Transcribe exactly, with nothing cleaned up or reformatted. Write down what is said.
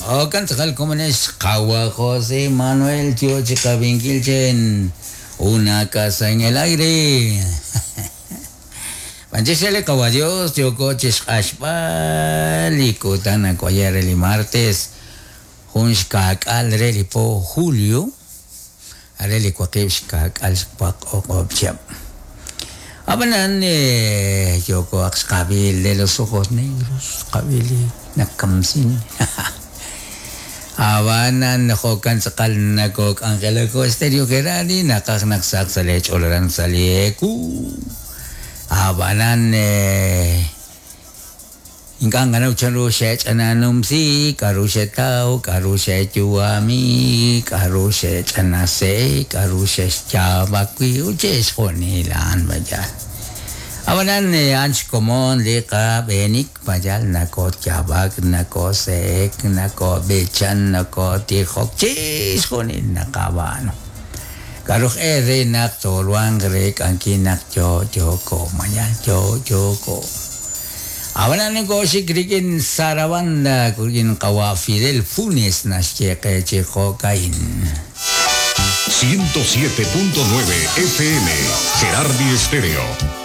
Okan tz'aqal komonex qawa José Manuel yo chi qabinkil chen una casa en el aire. Panchexele qawa Dios yoko chixq'axb'al li kutan akoyer li martes jun xka'k'al re li po julio are li waqib' xka'k'al xwaq o'q'ob' chihab'. Abanan eh, yoko aq xqab'il de los ojos negros xqab'il nakamsin. Abanan jo'kan tz'aqal nakok Angelico Estéreo Gerardi naqaj naqsaq sa' li ch'oloran sa' li eku. Abanan eh, ink'a' nganaw chanru xe'ch'ananumsi, k'aru xetaw, k'aru xe'yu'ami, k'aru xe'ch'anase, k'aru xe'xyaab'akwi, ut chixjunilan bayal. Abanan eh, anch komon li qab'eenik bayal nako'yaab'ak, nako'se'ek, nako'b'ichan, nako'tijok, chixjunil naqab'aanu. K'aruj e re naq tolwan re k'anki naq yo yoko mayal yo yoko. Abanan nako xik rikin Sarabanda kurgin qawa Fidel Funes naxyeqe chi jo'kain. ciento siete punto nueve F M, Gerardi Estéreo.